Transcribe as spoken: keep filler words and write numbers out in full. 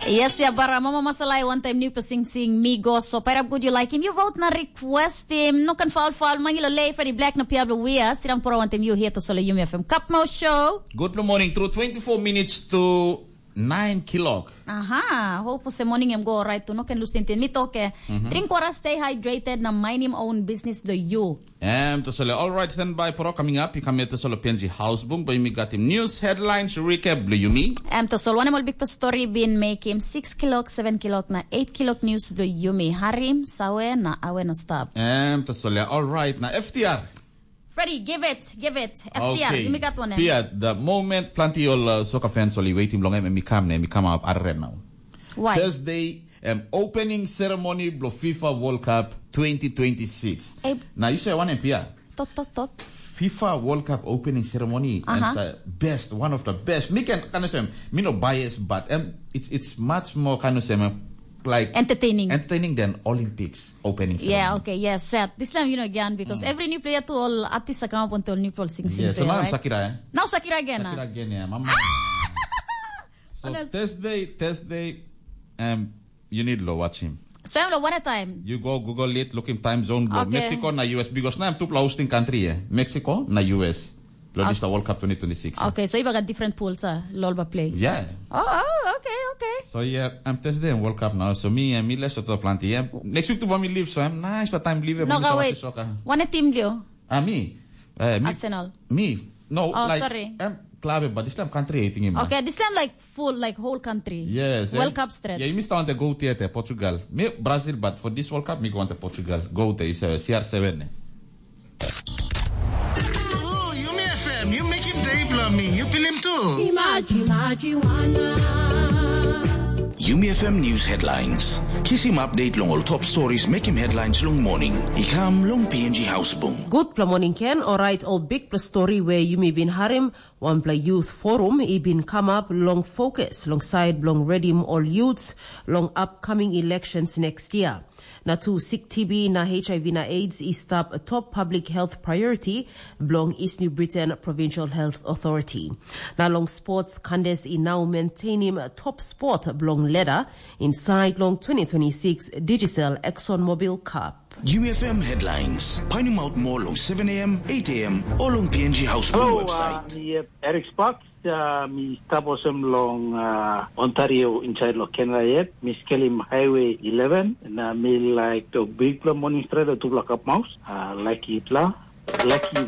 Yes, ya bara mama masalai wantaim niu pasing sing mi go so pairap good you like him. You vote na request him. No kan foul foul mangi lo lei Freddy Black na pia blo wia. Sidang pura wantaim you here to solo Yumi F M Cup Mo Show. Good morning. Through twenty-four minutes to nine kilok. Aha, hope se morning em go right tu. No can lose tintin. Mi toke. Drink water, stay hydrated na mind him own business do you. Em, tasole, all right, stand by poro coming up. You come here tasole P N G House Bung, but you got him news headlines recap blo Yumi. Em tasol wanem ol bikpela story bin mekim six kilok, seven kilok na eight kilok news blo Yumi. Harim, sawe na awe na stop. Em, tasole, all right, na F T R. Freddy, give it, give it. F T R, okay. Yumi gat wanem. Pia, the moment planti ol uh, soccer fans ol i waiting long em, em i kam ne, em i kam up arre now. Why? Thursday, em opening ceremony blo FIFA World Cup twenty twenty-six. Eh, na you say one Pia. Tok, tok, tok. FIFA World Cup opening ceremony Aha. and uh, best, one of the best. Mi can kind of say, mi no bias, but um, it's it's much more kind of say, like Entertaining. entertaining than Olympics opening ceremony. Yeah, okay, yes, set. This time, you know, again, because every new player to all artists are come up until new people sing sing Yeah, so to, now I'm right? Sakira, eh? Now Sakira again. Sakira ah. again, yeah. Mama. So Honest. Thursday, Thursday, um, you need to watch him. So I'm like, one at a time. You go Google it, look him time zone, go Okay. Mexico na U S because now I'm two hosting country, eh? Mexico na U S. Lo Okay. this the World Cup twenty twenty-six. eh? Okay, so you got different pools, uh, lol ba play. Yeah. Oh, oh, okay, okay. So yeah, I'm Thursday and World Cup now. So me and me let's talk plenty. Yeah. Next week to me leave, so I'm nice for time leave. No, go wait. Soccer. One team do. Ah, me. Uh, me. Arsenal. Me. No, Oh, like, sorry. I'm club, but this time country, I think. Okay, this time like full, like whole country. Yes. World em- Cup straight. Yeah, you missed on the go theater, Portugal. Me, Brazil, but for this World Cup, me go on to Portugal. Go there, it's uh, C R seven. Eh? Ooh, Yumi F M, you make him day blow me. You feel him too. Imaji, imaji, wana. Yumi F M News Headlines. Kisim update long ol top stories mekim headlines long morning. I kam long P N G House Bung. Gutpela morning Ken, orait ol bikpela story we yumi bin harim, wanpela youth forum i bin kamap long fokus long side bilong redim ol youths long upcoming elections next year. Na tu sik T B na H I V na AIDS i stap top public health priority bilong East New Britain Provincial Health Authority. Na long sports, Candace i now maintainim top spot bilong ladder inside long twenty twenty-six Digicel ExxonMobil Cup. U F M Headlines. Painim out more long seven a m, eight a m, o long P N G House Bung Hello, website. Uh, mi yet Eric Sparks, uh, mi stap olsem long uh, Ontario inside lo Canada yet. Mi skelim Highway eleven, na mi like to big pla morning straight to Black Up Mouse. Uh, like it la, like you.